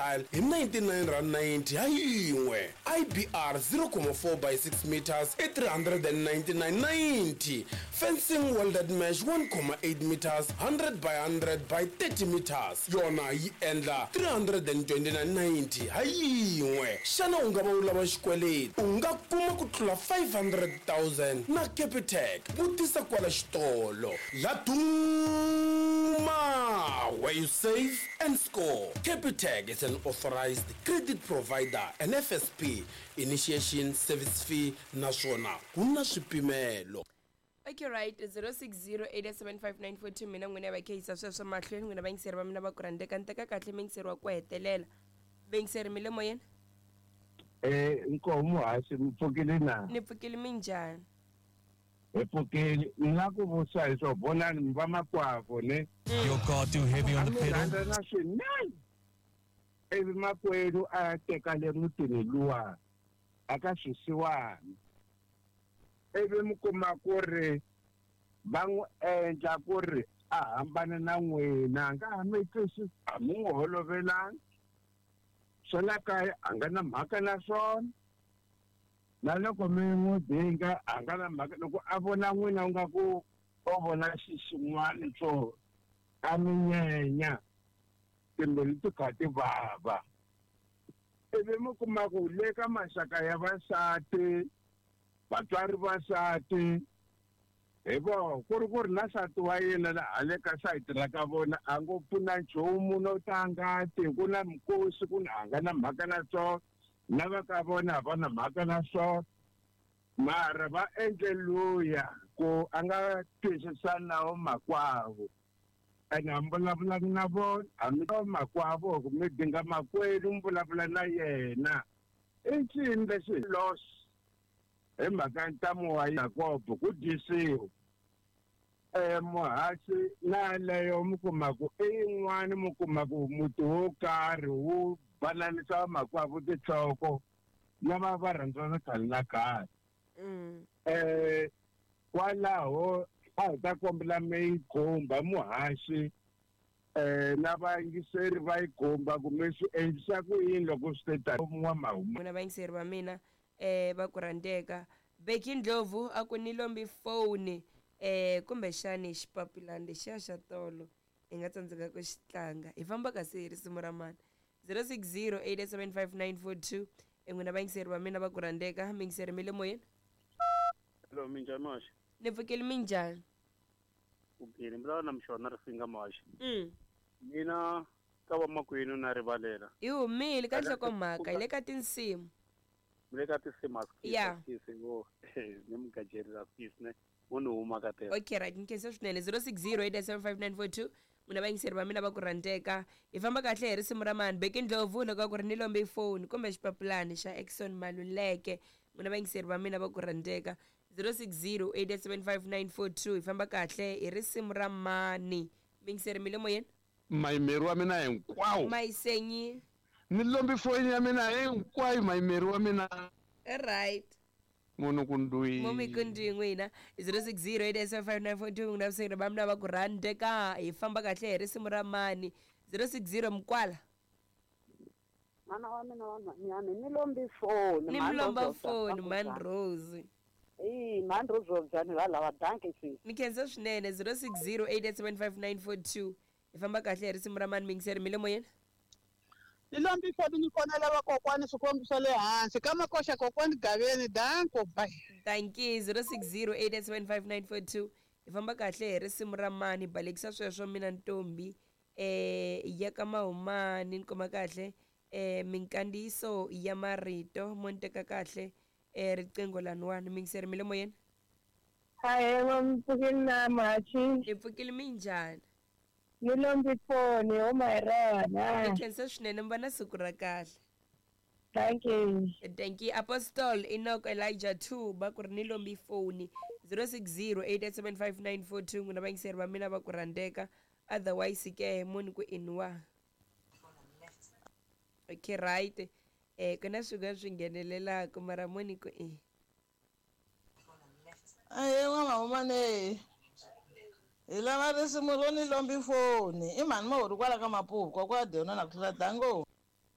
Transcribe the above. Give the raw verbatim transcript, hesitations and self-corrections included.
tile hi ninety-nine rand ninety ha yin'we. I B R zero comma four by six meters i three hundred and ninety-nine ninety. Fencing welded mesh one comma eight meters hundred by hundred by thirty meters yona yi endla three hundred and twenty-nine ninety ha yin'we. Xana u nga va u lava xikweleti? U nga kuma ku tlula five hundred thousand na Capitec. Vutisa kwala xitolo. Laduma, where you save and score. Capitec is an authorized credit provider and F S P initiation service fee naswona ku na swipimelo. Okay, right, zero six zero eight seven five nine four two mina n'wina va kheyisa sweswo mahlweni n'wina vayingiseri va mina va ku rhandzeka ni teka kahle muyingiseri wa ku hetelela. Vayingiseri mi le moyeni? Eh, nkomo haxi mi pfukile na? Ni pfukile minjhani? Hi pfukile, ni nga ku vutisa hi swo vonani mi va makwavo ne? Your car too heavy on the pedal? Rhandza na swinene. Ivi makwenu a teka le mutini luwa a ka swisiwana. Ivi mi kuma ku ri va n'wi endla ku ri a hambana na n'wina, a nga ha mi twisisi, a mi n'wi holovelanga. Swa la kaya a nga na mhaka na swona. Na loko mi n'wi dinga a nga na mhaka, loko a vona n'wina u nga ku o vona xi xin'wana swo a mi nyenya, timbilu ti kha ti vava. Ivi mi kuma ku le ka maxaka ya vasati, vatswari vasati, hi voho ku ri ku ri na nsati wa yena la hale ka sayiti ra ka vona a ngo pfuna nchumu no tanga ti ku na mikosi ku na a nga na mhaka na swona, lava ka vona a va na mhaka na swona. Mara va endle luya ku a nga twisisani na makwavo. Ene a mi vulavulanga na vona, a mi makwavo ku mi dinga makwenu mi vulavula na yena. I ncini lexi loss hi mhaka ntamu wa Yakobo ku dyisiwa. Eh, muhaxi na leyo mi kuma ku i yin'wani mi kuma ku muti wo karhi wu bananisa makwavo tinhloko lava va rhandzana khale na khale. Eh, kwalaho a hi ta kombela mi yi khumba muhaxi, eh, na vayingiseri va yi khumba ku mi swi endlisa ku yini loko swi te tani n'wamahuma. N'wina vayingiseri va mina eh va ku rhandzeka. Beki Ndlovu a ku ni lombi foni eh kumbexani xipapilani lexiya xa tolo hi nga tsandzeka ku xi tlanga. Hi famba kasi hi risimu ra mani zero six zero eight seven five nine four two. N'wina vayingiseri va mina va ku rhandzeka. Miyingiseri mi le moyeni? Hello, minjhani Maxa? Ni pfukile minjhani? Upile, mi vulavula na Mxona Risinga Maxa. Mm. Mina ka vamakwenu na rivalela. Hi humile ka nhlokomhaka, hi le ka tinsimu. Mi le ka tinsimu a Yeah. skisi ni mugajeri ra skisi ne mo ni huma ka tele. Okay, right, ni khensa swinene. zero six zero eight seven five nine four two. N'wina vayingiseri va mina va ku rhandzeka. Hi famba kahle hi risimu ra mani Beki Ndlovu loko a ku ri ni lombe foni kumbe xipapilani xa Exxon Maluleke. N'wina vayingiseri va mina va ku rhandzeka. zero six zero eight seven five nine four two. Hi famba kahle hi risimu ra mani. Miyingiseri mi le moyeni? Mayimeri wa mina hinkwawo. Mayisenyi. Ni lombi foni ya mina hinkwayo mayimeri wa mina. Right. Munhu kundwi. Mumi kundwi n'wina. zero six zero eight seven five nine four two. N'wina vayingiseri va mina va ku rhandzeka. Hi famba kahle hi risimu ra mani zero six zero Mkwala. Mana wa mina wa nhwanyana ni lombi foni. Ni mi lomba foni Man Rose. Eh, Man Rose njhani va lava danke sisi. Ni khensa swinene. zero six zero eight seven five nine four two. Hi famba kahle hi risimu ra mani. Miyingiseri mi le moyeni? Ni lombi foni ni fonela vakokwani swikwembu swa le hansi ka makoxa kokwani Gaveni danko bye. Thank you. zero six zero eight seven five nine four two. Hi famba kahle hi risimu ra mani. Balekisa sweswo mina ntombi eh ya ka Mahumani ni kuma kahle eh minkandziyiso ya marito mo ni teka kahle eh riqingho laniwani. Miyingiseri mi le moyeni? Hayi, mi pfukile na Machi. Hi pfukile minjhani? Ni lombi foni huma hi rona. Ni khensa swinene, mi va na siku ra kahle. Thank you. Thank you. Apostle Enoch Elijah two ba ku ri ni lombi foni zero six zero eight seven five nine four two. N'wina vayingiseri va mina va ku rhandzeka. Otherwise ke munhu ku inwa. Okay, right. Eh ku na swin'wana swi nghenelelaka mara muni ku i. Ahe n'wamahumane. Hi lava risimu ro ni lombi foni. I mhani Mahuri kwala ka Mapuku, kokwa Deno na ku tlula dango.